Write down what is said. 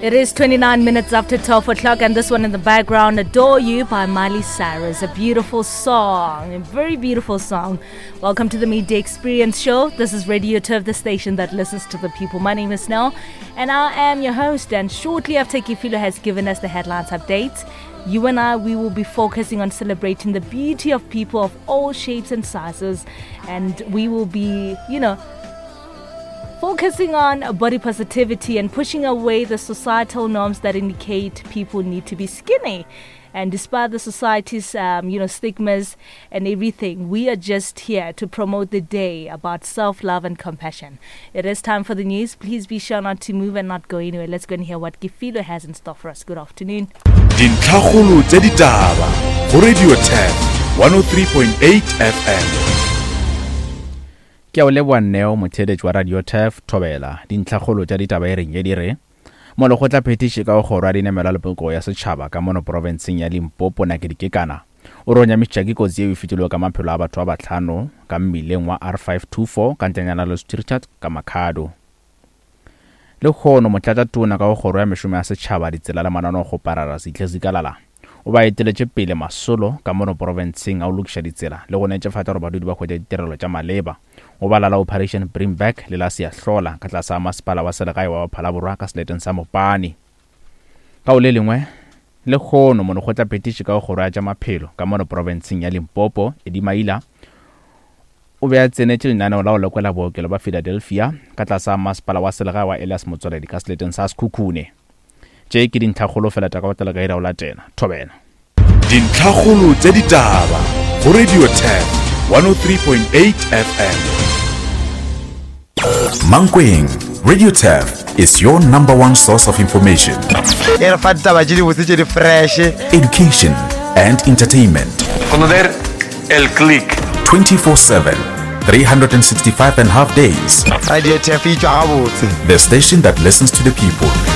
It is 29 minutes after 12 o'clock, and this one in the background, Adore You by Miley Cyrus. A beautiful song, a very beautiful song. Welcome to the Midday Experience Show. This is Radio Turf, the station that listens to the people. My name is Nell, and I am your host. And shortly after Kifilo has given us the headlines updates, you and I, we will be focusing on celebrating the beauty of people of all shapes and sizes. And we will be, you know, focusing on body positivity and pushing away the societal norms that indicate people need to be skinny. And despite the society's, um, you know, stigmas and everything, we are just here to promote the day about self-love and compassion. It is time for the news. Please be sure not to move and not go anywhere. Let's go and hear what Gifilo has in store for us. Good afternoon. Dintlhakgolo tša ditaba go Radio Turf 103.8 FM. Ke a o leboa Neo, motheeletši wa Radio Turf, Thobela. Dintlhakgolo tša ditaba e reng ye di re, Molekgotla phethiši ka go kgoro ya dinamelwa le polokego ya setšhaba ka mono profenseng ya Limpopo Nakedi Kekana o re o nyamišitša ke kotsi yeo e fetilego ka maphelo a batho ba bahlano ka mmileng wa R524 ka ntlenyana le Stuttgart ka Makhado. Lehono Motlatšatona ka go Kgoro ya Mešomo ya Setšhaba, Ditsela le Mananeokgoparara Sihle Zikalala o ba eteletše pele masolo ka mono porofenseng a go lokiša ditsela le go netefatša gore badudi ba hwetša ditirelo tša maleba. O bala la Operation Bring Back le la Siyahlola ka tlase ga Masepala wa Selegae wa Phalaborwa ka seleteng sa Mopani. Ka go le lengwe, lehono Molekgotlaphethiši ka go Kgoro ya tša Maphelo ka mono porofenseng ya Limpopo, Eddie Maila, O be a tsenetše lenaneo la go lekola bookelo bja Philadelphia ka tlase ga masepala wa selegae wa Elias Motsoaledi ka seleteng sa Sekhukhune. Tše ke dintlhakgolo fela tša ka go tlela ka iri ya go latela. Thobela. Dintlhakgolo tša ditaba go Radio Turf 103.8 FM. Mankweng, Radio Turf is your number one source of information. E re fa ditaba tše dibotse tše di fresh. Education and entertainment. Conocer el click. 24/7, 365 and half days. Radio Turf e tšwa gabotse. The station that listens to the people.